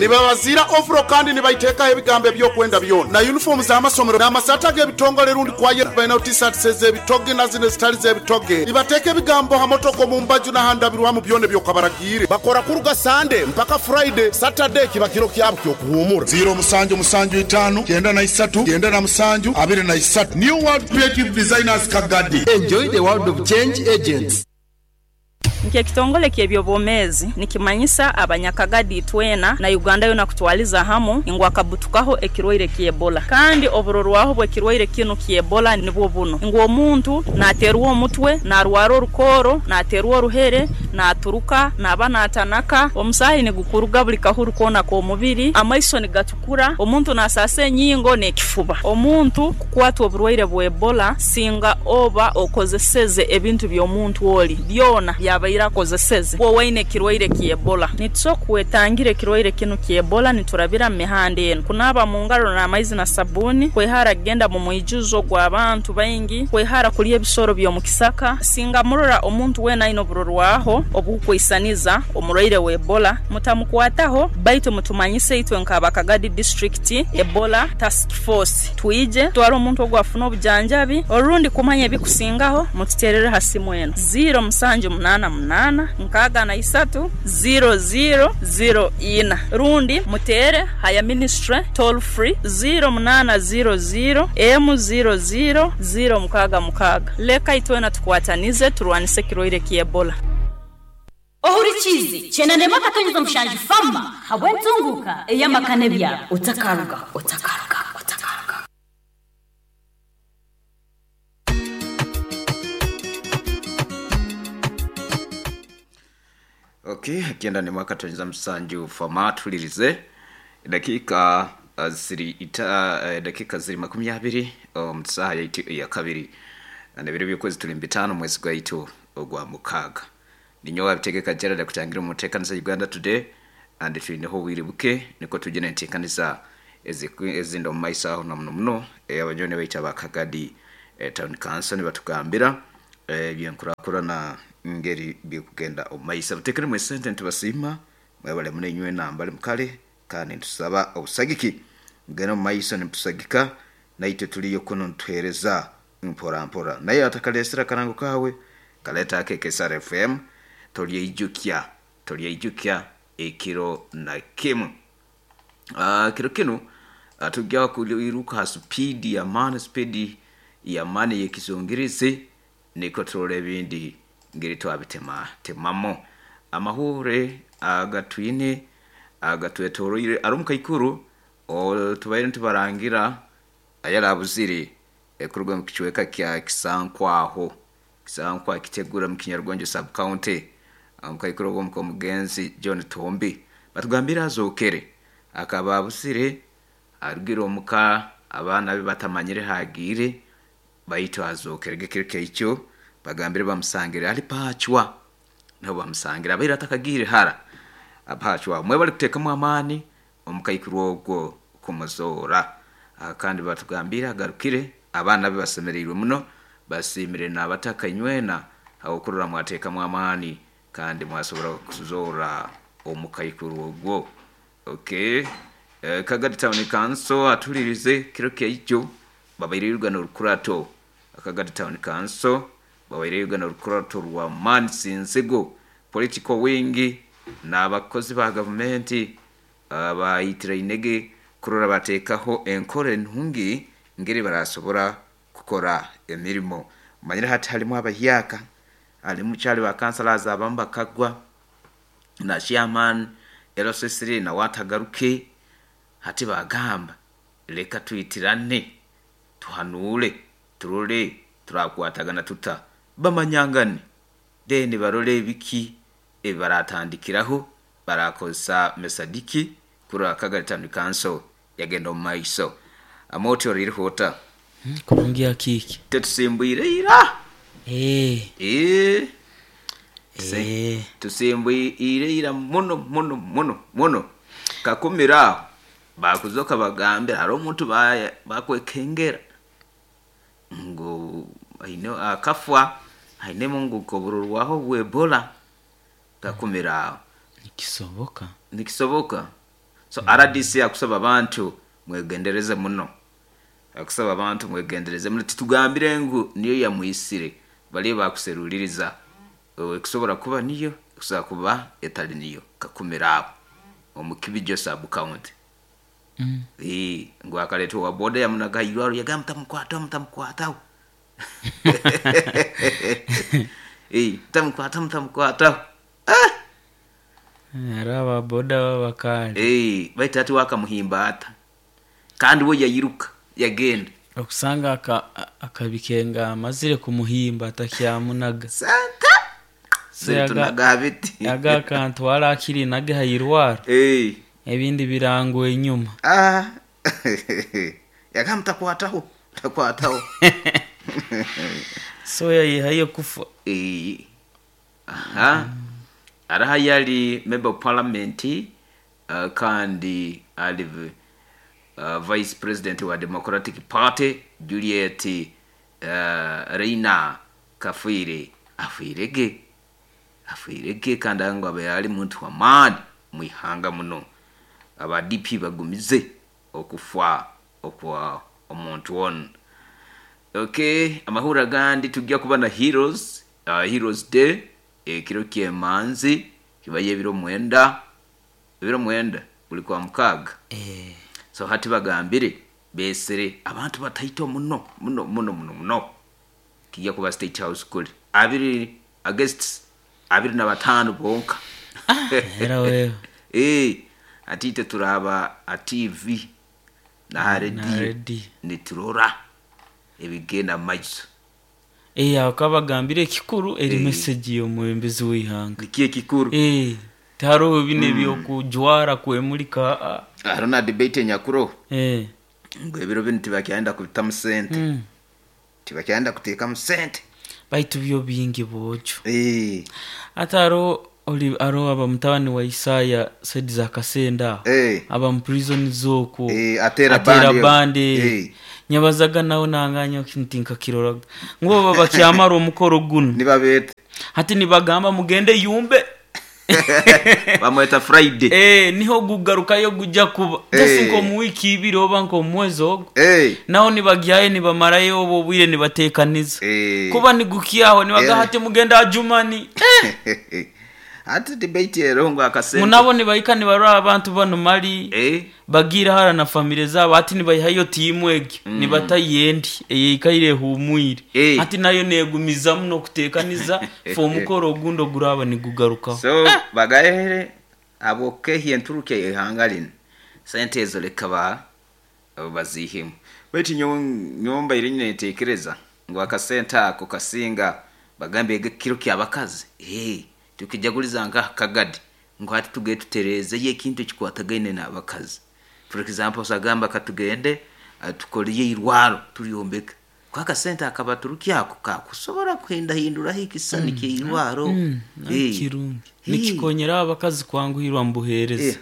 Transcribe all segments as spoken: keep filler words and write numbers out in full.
Nibabazira overall kandi nibaiteekaho ebigambo ebyokwenda byona na uniform z'amasomero n'amasaati ag'ebitongole rundi kwaye balina t-shirts ez'ebitoge na zino ezitali z'ebitoge. Nibateeka ebigambo ha motoka omu mbaju n'ahandabirwamu byona ebyokabaragiire. Bakora kuruga Sunday mpaka Friday, Saturday kiba kiro kyabo ky'okuhuumura. Ziro musanju musanju itaano kyenda na isatu kyenda na musanju abiri na isatu. New World Creative Designers Kagadi. Enjoy the world of change agents. Nk'ekitongole ky'ebyobwomeezi nikimanyisa abanyakagadi twena na Uganda yoona kutwaliza hamu ngu akabutukaho ekirwaire ky'Ebola. Kandi oburorwaho bw'ekirwaire kinu ky'Ebola nibwo buno ngu omuntu naaterwa omutwe, naarwara orukooro, naaterwa oruhere, naaturuka, naaba naatanaka, omusaahi nigukuruga buli kahuru koona k'omubiri, amaiso nigatukura, omuntu naasaasa enyingo n'ekifuba. Omuntu kukwatwa oburwaire bwa Ebola singa oba okozeseze ebintu by'omuntu oli byona byabaire akozeseze owaine ekirwaire ky'Ebola. Nitusobola kwetangira ekirwaire kinu ky'Ebola niturabira mu mihanda enu: kunaaba mu ngaro n'amaizi na sabbuuni, kwehara kugenda mu mwijuzo gw'abantu baingi, kwehara kulya ebisoro by'omu kisaka. Singa murora omuntu weena aine oburorwaho obukwisaniza omurwaire wa Ebola, mutamukwataho baitu mutumanyise itwe nk'aba Kagadi District Ebola Task Force twije tutwale omuntu ogu afune obujanjabi orundi kumanya ebikusingaho mututeerere ha simu enu ziro musanju munaana munaana nkaaga na isatu ziro ziro ziro ina rundi muteere haya ministry toll free ziro munaana ziro ziro emu ziro ziro ziro mukaaga mukaaga. Leka itwena tukwatanize turwanise ekirwaire ky'Ebola. Ohurikize kyenda ndema katonyeza mushanju fama habwentunguka eyamakane bya otakaruga otakaruga otakaruga. Okay, akienda ni mwaka tonyeza msanju fama tulirize dakika uh, ziri ita uh, dakika ziri makumi abiri um, saha ya, itu, ya kabiri na biro by'ukwezi tuli bitano mwezi gwa itu ogwa mukaga. Ninyowa bitegeka Gerald kutangira umutekanisa Uganda Today and tulineho wiribuke niko tujene ntekanisa ezindo maisa aho na muno muno e, abanyone baita bakagadi e, town council ni batugambira e, byenkurakura na ngeri bikugenda omaisa butekere mwe sente ntibasima mwebale mune nywe nambale mukale kandi ntusaba obusagiki ngeno maisa nitusagika naitwe tuliyo kuno ntwereza mpora mpora naye atakalesera karango kawe kaleta akeke S R F M tolyeijukya tolyeijukya ekiro na kimu. Uh, kiro kinu uh, tujya kuiruka speed ya man speed ya mani yekizungirizi niko turole bindi ngiri twabitema temamo amahure agatwine agatwetoroire arumuka ikuru o tubaire ntubarangira ayarabuzire ekuruga mu kichweka kya Kisankwaho Kisankwa kitegura mu Kinyarwanda sub county amukayikuru go mu mugenzi John Tombi batugambira azokere akaba abusire arugiro muka abana be batamanyire hagire bayito azokere gekireke icyo bagambire bamusangire ali pachwa nabo bamusangira abaira atakagire hara apachwa mwe bali kutekamo amani omukayikuru ogwo kumuzora kandi batugambira agarukire abana be basemereirwe muno basimire nabatakanywe aho kurura mwatekamo amani kandi mwasobora kuzora omukayikuru ogwo. Okay, eh, Kagadi Town Council atulirize kiro ky'icyo babairirwa n'urukurato. Kagadi Town Council babairirwa n'urukurato rwa Mansinzego political wing n'abakozi ba government abayitira inege kurora batekaho enkore ntungi ngeri barasobora kukora emirimo. Manyira hati halimu abahyaka alimu chali wa councillors abamba kagwa na chairman L C three na watagaruke hati bagamba leka tuitirane tuhanule turole turakwatagana tuta bamanyangane deni barole biki ebaratandikiraho barakosa mesadiki kura Kagadi Town Council yagenda maiso amoto ririhota hmm, kurungia kiki tetusimbuire ira eh eh eh tusimbuire ira muno muno muno muno kakumira bakuzoka bagambira hari omuntu bakwekengera ngo aine akafwa aine mungu kobururwaho bwebola kakumira nikisoboka nikisoboka So R D C akusaba abantu mwegendereze muno, akusaba abantu mwegendereze muno, titugambire ngu niyo yamwisire, bali bakuseruliriza ekusobola kuba niyo, ekusobola kuba etali niyo. Kakumira abo omukibijo sub county. Mm. Eh, ngu akaletwa wa boda yamunaga irwaro yagamba mutamukwata, mutamukwata. Eh, mutamukwata, mutamukwata. Ah! Araba boda babakali. Eh, baita ati wakamuhimba ata. Kandi we yayiruka yagenda. Okusanga aka, akabikenga amazire kumuhimba atakyamunaga. Santa. Tunagabiti. Aga kantu wala akiri nage hayirwaro. Eh. Ebindi birango enyuma. Ah. Yakamtakwataho, takwataho. So yayihaye kufa. Eh. Aha. Araha yali member of parliament, uh, kandi ali uh, vice president wa Democratic Party Juliet uh, Reina Kafwire afwirege afwirege kandi ngo abe yali muntu wa maani mwihanga muno. Aba D P bagumize okufa okwa omuntu on. Okay, amahura gandi tujya kuba na Heroes, uh, Heroes Day ekiro kyemanzi kibaye biro mwenda, biro mwenda buli kwa mukaga. Eh. So hati bagambire besere abantu bataito muno muno muno muno muno. Kijya kuba State House kuli abiri against abiri na batano bonka. Ah, era wewe. Eh, atite turaba a T V na radio niturora ebigenda maiso. Eh, akabagambire kikuru eri eh. Message yo mwembezi w'ihanga. Nikiye kikuru. Eh, taro bine mm. byo kujwara kwemulika. Arona debate nyakuro. Eh. Ngo ebiro bintu tibakyenda kubitamu sente. Mm. Tibakyenda kuteka mu sente. Baitu byo bingi bojo. Eh. Ataro oli aro aba mutabani wa Isaya said za kasenda. Eh. Aba mu prison zoko. Eh, atera bande. Bande. Eh. Nyabazaga nawo nanganya kintinka kiroraga. Ngo baba bakyamara omukoro guno. Nibabete. Hati nibagamba mugende yumbe. Bamweta Friday. Eh, niho gugarukayo gujja kuba. Eh. Just nko mu wiki ibiri oba nko mwezi ogo. Eh. Naho nibagyaye nibamarayo obo bwire nibatekaniza. Eh. Kuba nigukiyaho nibaga Eh. hati mugenda ajumani. Eh. Ati debate ero ngo akasente. Munabo nibayika nibarora abantu bano mali. Eh. Bagira hara na family zabo ati nibayihayo timu egi. Mm. Nibatayendi eyikaire humwire. Eh. Ati nayo negumiza muno kutekaniza fo mukoro gundo guraba nigugaruka. So eh. Bagahere aboke hienturuke ihangalin. Sente ezo lekaba bazihemu. Beti nyomba iri netekereza ngo akasenta ako kasinga bagambe kiro kyabakazi. Eh. Tukijaguliza nga kagadi ngo hati tuge tutereze ye kintu kikwatagaine n'abakazi. For example sagamba katugende tukoliye irwaro tuliombeka kwa kasenta akabaturuki ako kakusobora kwenda hindura hikisani mm. ke irwaro mm. eh kirungi nikikonyera abakazi kwanguhirwa mbuhereza eh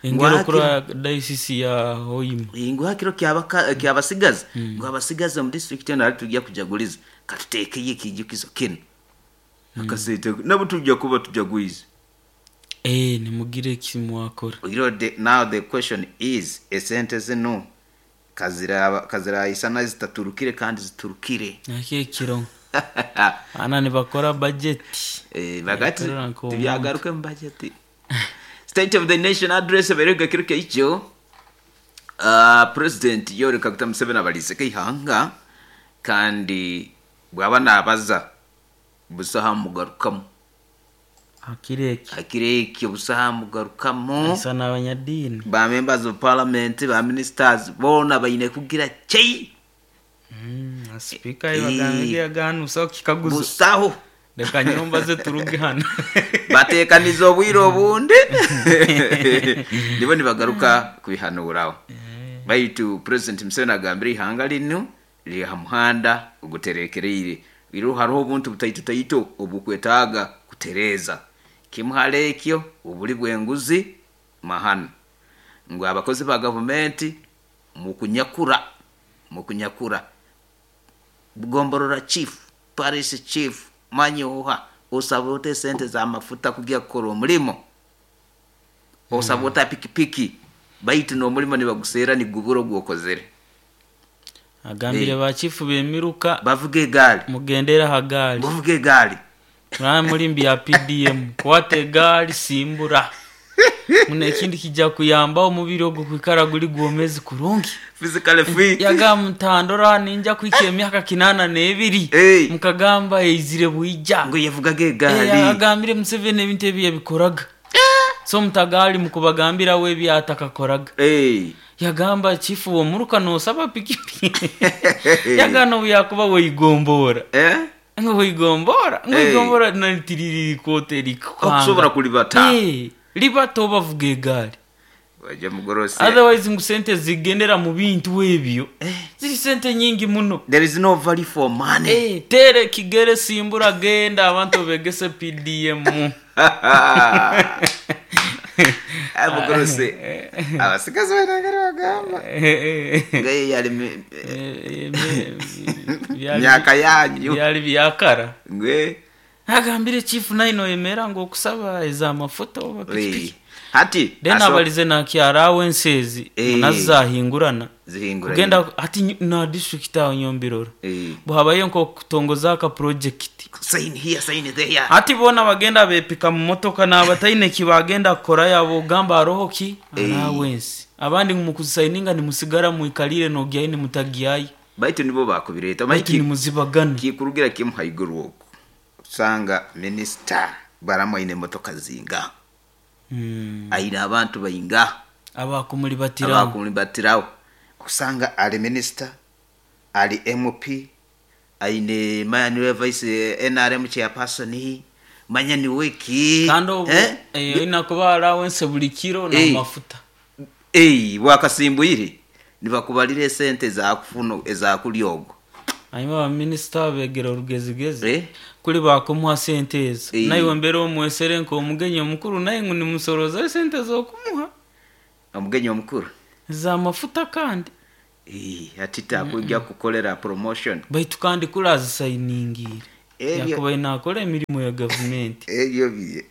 engero kura diocese ya Hoima ngo hakiro kyabaka kyabasigaza mm. ngo abasigaza mu district na tujya kujaguliza katutekeye kijukizo kino mm. Akasente nabo tujya kuba tujagwiza. Eh, nimugire kimwakora. You know, the, now the question is esente zino kazira kazira isana zitaturukire kandi ziturukire. Nake kiro. Ana nibakora budget. Eh, bagati tubyagaruke mu budget. State of the Nation address berega kiruke icho. Uh, President Yoweri Kaguta Museveni abalize kihanga kandi bwaba nabaza busaha mugarukamu. Akireki akireki busaha mugarukamu asa n'abanyadini ba members of parliament ba ministers bona bayine kugira chei mm speaker ibagambe yaganusa kikaguzo busaho reka nyumba ze turuge hano batekaniza obwire obundi nibo nibagaruka kubihanuraho. Baitu President Museveni agambire ihanga lino liri ha muhanda oguterekereire iro hariho obuntu butaito taito obukwetaaga kutereza kimuhalekyo obuli bwenguzi mahana ngo abakozi ba government mukunyakura mukunyakura bugomborora chief parish chief manyoha osabote sente za mafuta kugia kukora omulimo osabota pikipiki Baitu n'omulimo nibaguseera nigubura ogwokozere. Agambire Eh. bachifu b'emiruka bavuga egaali. Mugendera ha gaali. Bavuga egaali. Muraba muri mbi ya P D M kwata egaali simbura. Muna ekindi kijja kuyamba omubiri ogwo kwikara guli gwomezi kurungi. Physically fit. Yaga mutandora ninja kwika emyaka kinana n'ebiri. Hey. Mukagamba eizire bwija. Ngo yavugaga egaali. Eh, agambire Museveni ebintu ebi yabikoraga. So mutagali mukubagambira we byatakakoraga. Hey. Yagamba chifu womuruka nosaba pikipiki. Yagano yakuba weyigombora. Eh? Ngo weyigombora, ngo Hey. weyigombora nantiriri kote likanga. Okusobola kulibata. Eh, libata obavuga egaali. Wajja mugorose. Otherwise ngu sente zigendera mu bintu ebyo. Eh. Ziri sente nyingi muno. There is no value for money. Eh, tere kigere simbura genda abantu begese P D M. Mugorose. Abasigazi banagara bagamba. Ngaye yali mi- Eh, eh, byali- myaka yanyu. Byali byakara. Ngwe. Agambire chief naino emera ngo okusaba ez'amafuta oba pikipiki. Hati, Then aso- abalize nakyara wensezi Eh. nazahingurana. Zihinguranye. Kugenda ati nyi-, na district aho nyombirora. Eh. Buhabaye nko kutongoza aka project. Sign here, sign there. Ati bona bagenda bepika mu motoka n'abataine kibagenda kora yabo gamba roho ki Eh. allowance. Abandi mu kusayininga ni musigara muikalire no gyaine mutagiyayi. Baitu nibo bakubireta. Baitu ni muzibagana. Kikurugira kimu haiguru oku. Usanga minister baramwaine motoka zinga. Mm. Aina abantu bayinga. Abakumuli batirawo. Abakumuli batirawo. Usanga ali minister, ali M P, aine manya vice N R M chairperson, manya ni wiki. Kando obu, Eh? eh, ina kuba allowance buli kiro na Eh. mafuta. Eh, wakasimbuyire. Nibakubalire sente za kufuno eza kulyogo. Hanyuma ba minister begera orugezigezi. Eh? Kuli bakumuha sente ezo. Eh. Naye mbere omwesere nko omugenyi omukuru naye ngu nimusoroza sente z'okumuha. Omugenyi omukuru. Za mafuta kandi. Eh, ati takujja kukolera promotion. Baitu kandi kulazisayiningira. Ebyo- Yakuba inakora emirimu ya government. Ebyo biye.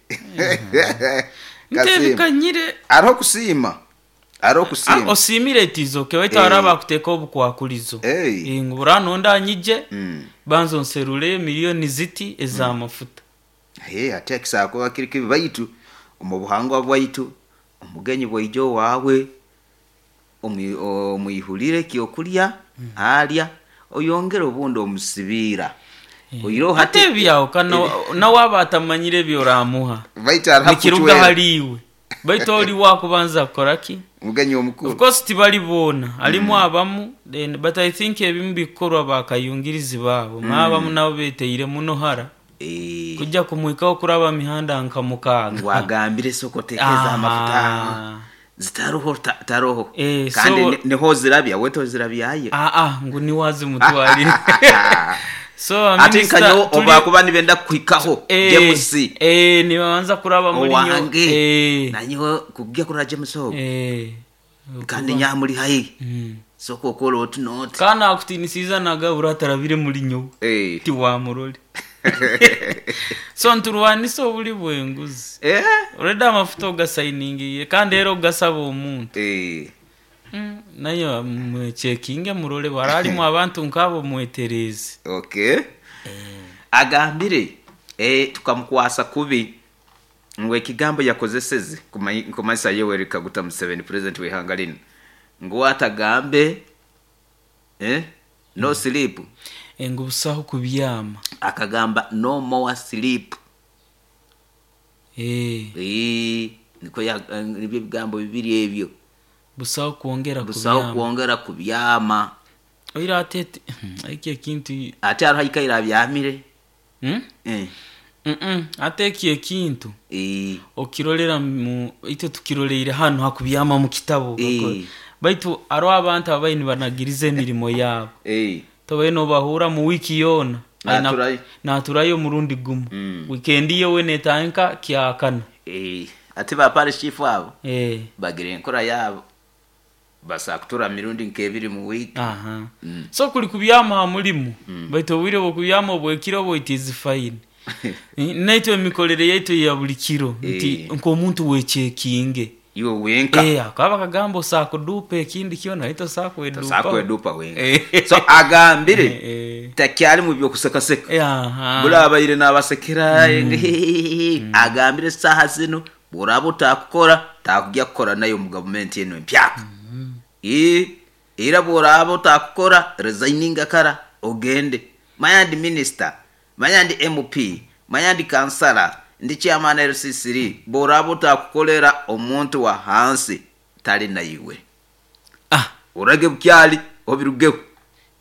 Ntebikanyire. Ariho kusiima. Ariho kusiima. Ah, osimire tizo ke waitu Eh. araba kuteka obukwakulizo. Eh. Eh, ngu buranonda nyije. Mm. Banzo nserule miliyoni ziti ez'amafuta. Hey, ate akisako akiri kibi baitu omu buhangwa bwaitu omugenyi bwaijo wawe omwihulire kyokulya mm. alya oyongere obundi omusibira. Mm. Oyiro hati ate byawo kana nawe aba atamanyire byoramuha. Baitu araha Nikiruga kuchwera. haliwe. Baitu oli wakubanza kukora ki? Omugenyi omukuru. Of course tibali boona alimu mm. abamu then but I think ebimu bikorwa bakayungirizi baabo mm. abamu nabo beteire muno hara. Eh. Kujja kumwikaho kuraba mihanda nka mukaaga. Wagambire soko tekeza amafuta. Zitaroho ta, taroho. Eh, kandi so, ni, niho zirabya weto zirabyaye. Ah ah ngu ni wazi mutwalire. So ati nkanyo oba kuba nibenda kuhikaho eh, James. Eh nibanza kuraba muri nyo. Eh nanyo kujya kura James ho. Eh kandi nyamuri hayi. Mm. Soko kolo otunoti. Kana akutinisiza nagabura tarabire muri nyo. Eh ti wa murole. So nturwanisa obuli bwenguzi. Eh already amafuta ogasayiningiye kandi era ogasaba omuntu. Eh mm, nayo mwechekinge murole baralimu abantu nkabo mwetereze. Okay. Eh. Agambire eh tukamukwasa kubi ngwe ekigambo yakozeseze kumanyisa Yoweri Kaguta Museveni president w'ihanga lino ngo atagambe eh no sleep ngo busaho kubyama akagamba no more sleep. Eh eh niko ya nibyo bigambo bibiri ebyo busaho kuongera kubyama busaho kuongera kubyama oira atete eki ekintu ate arahikaira byamire hmm? eh mm ate eki ekintu eh okirolera mu ite tukiroleire hano hakubyama mu kitabo eh. Baitu aro abantu abaini banagirize emirimo yabo eh tobe no bahura mu wiki yona naturayo naturayo murundi gumu mm. weekend yewe netanka kyakana eh ate ba parish chief abo eh bagire enkora yabo basakutura mirundi nkebiri mu week. Aha mm. So kuli kubyama mulimu mm. baitu obwire bw'okubyama obwekiro bwo it is fine. Naitwe emikolere yaitu ya buli kiro nti Eh. nk'omuntu wechekinge. Iwe wenka. Eh, akaba kagamba osakudupa ekindi kyona ito sakwedupa. Sakwedupa wenka. Eh. So agambire Eh. takyali mu byokusekaseka. Eh, aha. Bulabaire n'abasekera mm. Agambire saha zino buraba utakukora takujya kukora nayo mu gavumenti eno empyaka. Mm. E era buraba utakukora resigninga kara ogende. Manya ndi minister, manya ndi M P, manya ndi kansala, ndi chairman L C C, buraba utakukolera omuntu wa hansi tali na iwe. Ah, urage bukyali obirugeho.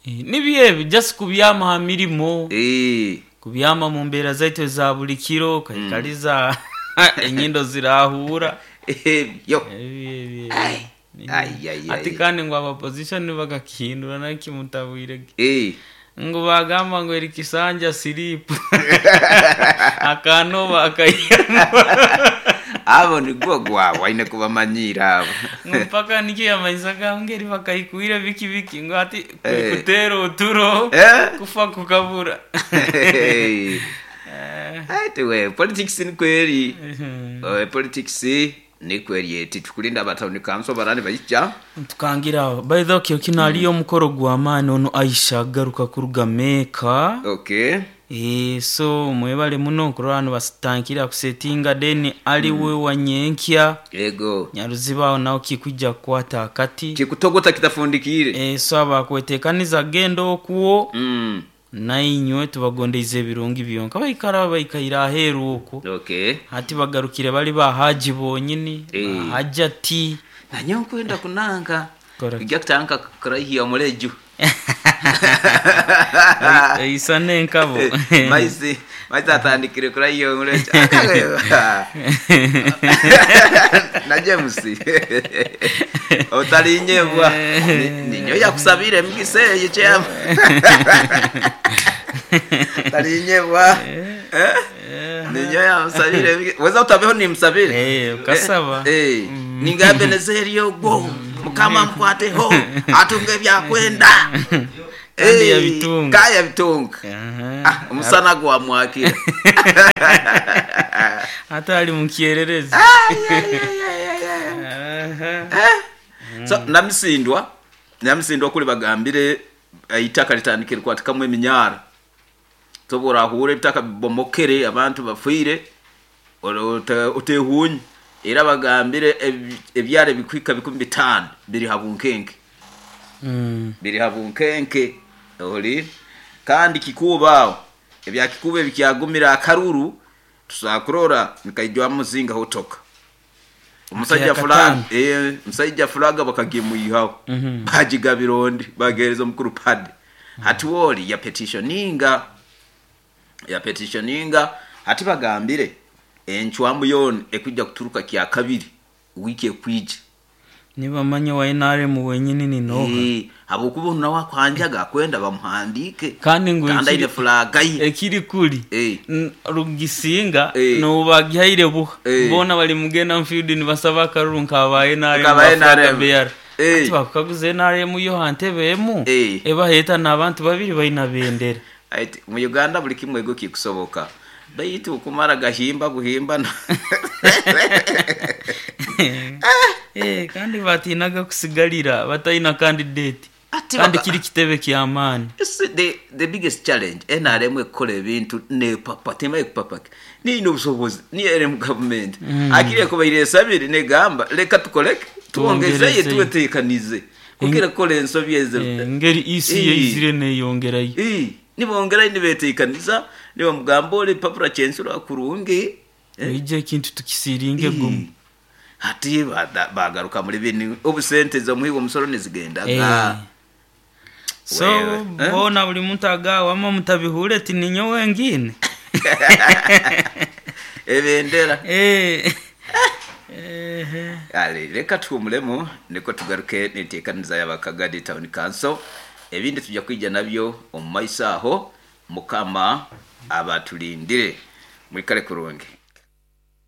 Eh, nibye just kubyama ha mirimo. Eh, kubyama mu mbera zaitu za buli kiro kaikaliza mm. enyindo zirahura. Eh, yo. Eh, Ai, ai, ai. Ati kandi ngo opposition bagakihindura nakimutabwire. Eh. Ngo bagamba ngo eri kisanja slip. Akanoba akayamba. Abo ni gwo gwa waine kubamanyira abo. Mpaka niki yamanyisaga ngeri bakayikuira biki biki ngo ati kutero uturo eh? Kufa kukabura. Eh. Ati we politics ni kweli. Uh, politics ni kweli eti tukulinda abatawuni kanso barani bayijja. Tukangira by the way kino aliyo mukoro gwa maani ono Aisha garuka kuruga Meka. Okay. Eh, so mwebale muno kurano basitankira kusetinga deni ali mm. we wanyenkya yego nyaruzibaho nawo kikujja kwata akati kikutogota kitafundikire. Eh, so abakwetekaniza gendo okuwo mm. nainywe tubagondeize ebirungi byonka baikara baikaira aheru okwo. Okay. Hati bagarukire bali bahaji bonyini eh. Hajati nanyo nkwenda kunanga ijja kutanka kurahiya omuleju isa nenkabo maisi maisi atandikire kurahiya omuleju na James otalinyebwa ninyo yakusabire mugisa eyo kyama talinyebwa ninyo yamusabire weza utabeho nimsabire eh ukasaba eh ninga Benezeri ogwo mukama mkwateho atunge byakwenda kandi yabitunga kaya bitunga ah umusana gwa mwakira hata ali mukiererezi so namisindwa namisindwa kuli bagambire itaka litandikire kwatikamu eminyara tobora ahure itaka bibomokere abantu bafwire otehunye era bagambire ebyare bikwika bikumi bitano biri habunkenke mm. biri habunkenke oli kandi kikuba ebya kikube bikyagumira akaruru tusakurora nikaijwa muzinga hotoka umusajja fulani eh musajja fulaga bakagimuyihaho mm -hmm. bajigabirondi bagereza mukuru pad mm -hmm. hati woli ya petitioninga ya petitioninga hati bagambire enchwamu yon ekujja kuturuka kya kabiri wiki ekwije nibamanye wa N R M wenyini ni noha eh abokubona wakwanjaga kwenda bamuhandike kandi ngo kandi ine flaga ye ekiri kuli eh rugisinga e. no bagihaire buha e. mbona bali mugenda mfield ni basaba karuru nkaba N R M N R M ati bakaguze N R M yo hantebe emu e. ebaheta nabantu babiri bayina bendera ati mu Uganda buli kimwe go kikusoboka baitu kumara gahimba guhimba eh kandi batinaga kusigalira batayina candidate kandi kiri kitebe kyamani the the biggest challenge N R M ekola ebintu ne papa tema ekupapa ni nobusobozi ni N R M government mm. akire ko bayire sabiri ne gamba leka tukoleke tuongezeye tuwetekanize kugira kola ensobi ezo ngeri isi yizire ne yongerayo eh nibongera nibetekaniza niba mugambole papura chensura kurungi ije kintu tukisiringe gumu hati bagaruka muri bini obusente zo muhigo musoro nizigendaga so eh? Bona buli muntu agawa ama mutabihure ti ninyo wengine ebendera eh eh ale reka tuumulemo niko tugaruke nitekaniza y'abakagadi town council ebindi tujja kwijja nabyo omu maiso aho mukama abatulindire mwikale kurungi.